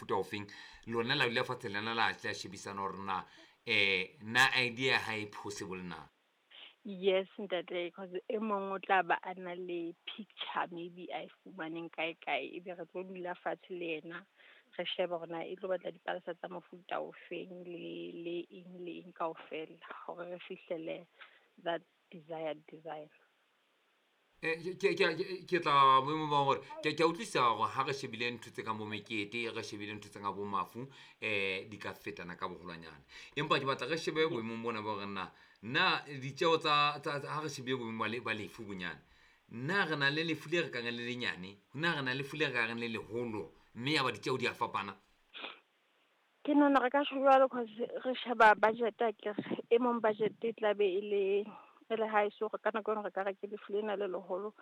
mofuta ofeng. Lona la dula fatshe lena la tla shebisana hore na na idea ha e possible na. Yes, ntate, because e mong o tla ba a na le picture maybe a e fumaneng kae kae, ebe re tlo dula fatshe le yena re shebe hore na e tlo batla dipalesa tsa mofuta ofeng le eng le eng kaofela hore re fihlele that desired design. Ke tla boemo ba hore ke a utlwisisa hore ha re shebile ntho tse kang bo mekete, re shebile ntho tse kang bo mafu, di ka fetana ka boholwanyane. Empa ke batla re shebe boemong bona ba hore na ditjeho tsa ha re shebile boemong ba lefu bonyane, na re na le lefu le re kang le lenyane, na re na le lefu le re ka reng le leholo, mme ya ba ditjeho di a fapana. Ke nahana re ka tjho jwalo cause re sheba budget akere, e mong budget e tla be e le hae, so ka nako eno re ka re ke lefu lena le leholo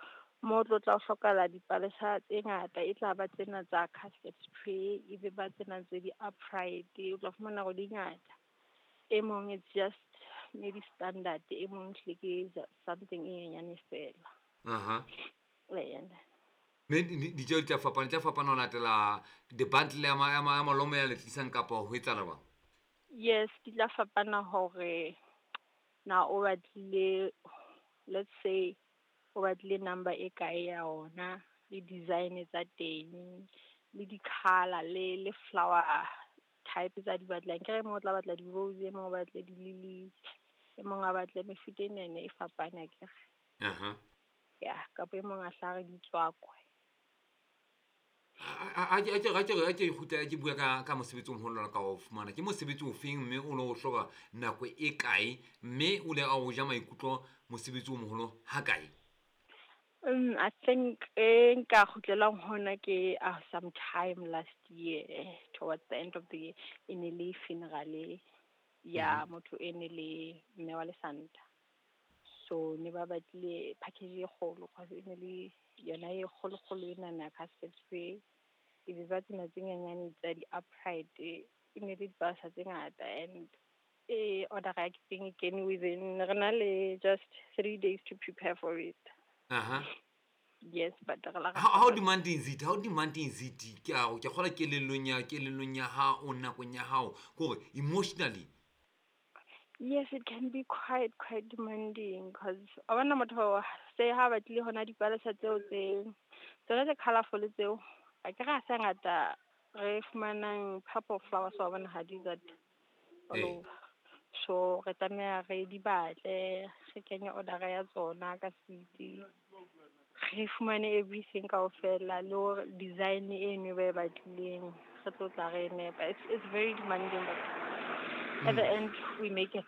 mo tlo tla o hlokahala dipalesa tse ngata, e tla ba tsena tsa casket tray, e be ba tsena tse di-upright, o tla fumana hore di ngata. E mong it's just maybe standard, e mong ehlile ke something e nyenyane fela. Aha. Eya. Mme ditjeho di tla fapana, di tla fapana ho latela the bundle ya malomo ya le tlisang kapa ho etsahala jwang? Yes, di tla fapana hore na o batlile, let's say o batlile number e kae ya ona, le design tsa teng, le di-colour, le flower type tsa di batlang. Ke re e mong o tla batla di-rose, e mong o batle di-lilies, e mong a batle mefuta e nene e fapane akere. Aha. Ya, kapa e mong a hla re di tswakwe. A ke kgutla ke bua ka mosebetsi o moholo ka o fumana. Ke mosebetsi o feng mme o no o hloka nako e kae, mme o le a o ja maikutlo mosebetsi o moholo ha kae? I think e nka kgutlelang hona ke some time last year, towards the end of the year, e ne le funeral ya motho e ne le mme wa lesanta. So ne ba batlile package e kgolo, cause e ne le yona e kgolo kgolo ena ya casket tray, e be ba tsena tse nyenyane tsa di-upright, e ne le dipalesa tse ngata, and e order ya teng e kene within, re na le just 3 days to prepare for it. Aha. Yes, but re la How demanding is it? How demanding is it? Ke a ke kgola kelellong ya hao, nakong ya hao, kore emotionally. Yes, it can be quite demanding because a bona motho se ha batlile hona dipalesa tseo tse tsona tse colorful tseo, a ke ra sa ngata re fumanang purple flowers wa bona ha di that all over. So re tlameha re di batle, re kenye order ya tsona ka speed, re fumane everything kaofela le hore design eno ba e batlileng re tlo tla re nepa. It's very demanding, but at the end we make it.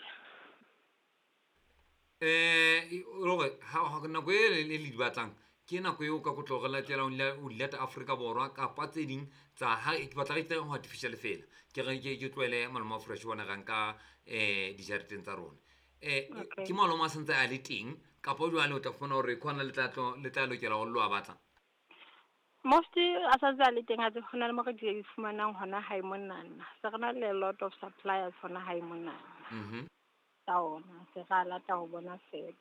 Hore ha nako e le di batlang ke nako eo ka kotlo re latela o di lata Afrika Borwa kapa tse ding tsa ha ke batla re ho artificial fela. Ke re ke tlohele maloma fresh bona ra nka dijareteng tsa rona. Ke maloma a santse a le teng kapa jwale o tla fumana hore khona le tla lokela ho lo batla. Mostly a santse a le teng, a tse hona le mo re di fumanang hona hae monana. Se re na le a lot of suppliers hona hae monana. Tsa ona se ra lata ho bona fela.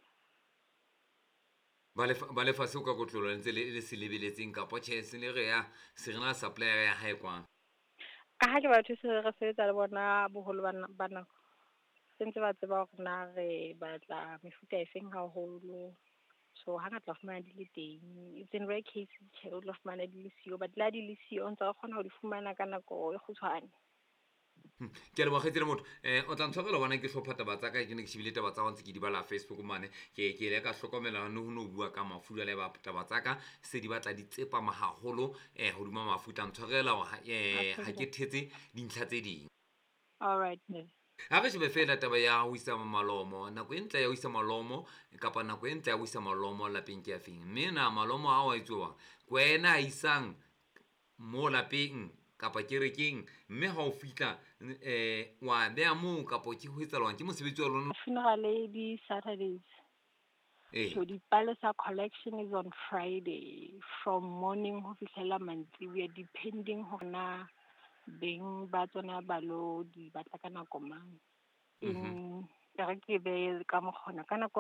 Ba lefatshe o ka kotlolo ntse le se lebeletseng kapa tjhe se le re ya se re na supplier ya hae kwana. Ka ha ke batho se re sebetsa le bona boholo ba nako. Se ntse ba tseba hore na re batla mefuta e feng haholo. So hangata fumana di le teng. It's in rare cases tjhe o tla fumana di le siyo, but la di le siyo ntse re kgona ho di fumana ka nako e kgutshwane. Ke a leboha kgaitsedi motho. O tla ntshwarela hobane ke hlopha taba tsa ka, ke ne ke shebile taba tsa hao ntse ke di bala Facebook mane. Ke ile ka hlokomela ho no bua ka mafu jwale ba taba tsa ka se di batla di tsepama haholo hodima mafu. Tla ntshwarela ha ke thetse dintlha tse ding. All right, ma'am. Ha re shebe fela taba ya ho isa malomo, nako e ntle ya ho isa malomo kapa nako e ntle ya ho isa malomo lapeng ke ya feng? Mme na malomo ao a etsuwang ke wena a isang mo lapeng kapa kerekeng, mme ha o fihla wa beha moo kapa ke ho etsahalang? Ke mosebetsi wa lona? Funeral di Saturdays. So dipalesa collection is on Friday from morning ho fihlela mantsiboya, depending hore na beng ba tsona ba lo di batla ka nako mang. In re ke be ka mokgona ka nako